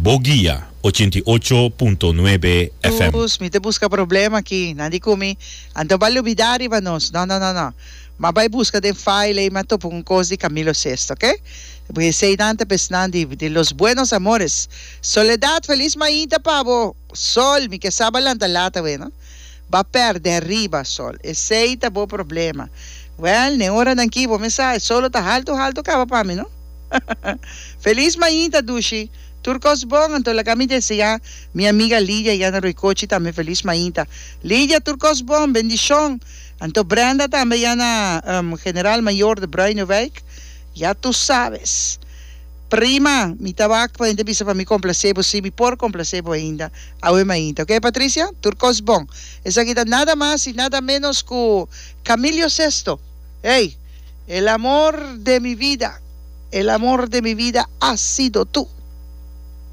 Bo Guia 88.9 FM. Dus mi ta buska problema aki. Nan di ku mi, Anto bo a lubidá riba nos. No, no, no, no. M'a bai buska den file ei, m'a topa un kos di Camilo Sesto, oke? Porque eseinan ta pesnan di di los buenos amores. Soledad, felis mainta pa bo. Sol, mi ke sa bo a lanta lat awe, no? Bo a pèrdè riba, Sol. Esei ta bo problema. Wèl, n'e oranan aki bo mes sa, e solo ta haltu haltu kaba pa mi, no? Felis mainta, dushi. Tur kos bon, anto laga mi deseá mi amiga Lidia ya na Roycochi tambe felis mainta. Lidia, tur kos bon, bendishon. Anto Brenda tambe ya na General Mayor de Bruinewijk, ya tu sabes. Prima, mi ta wak pa hende bisa pa mi complacé bo, si mi por complacé bo ainda awe mainta. Ok Patricia? Tur kos bon. Esaki ta nada mas y nada menos cu Camilio Sesto. Hey, el amor de mi vida, el amor de mi vida has sido tu.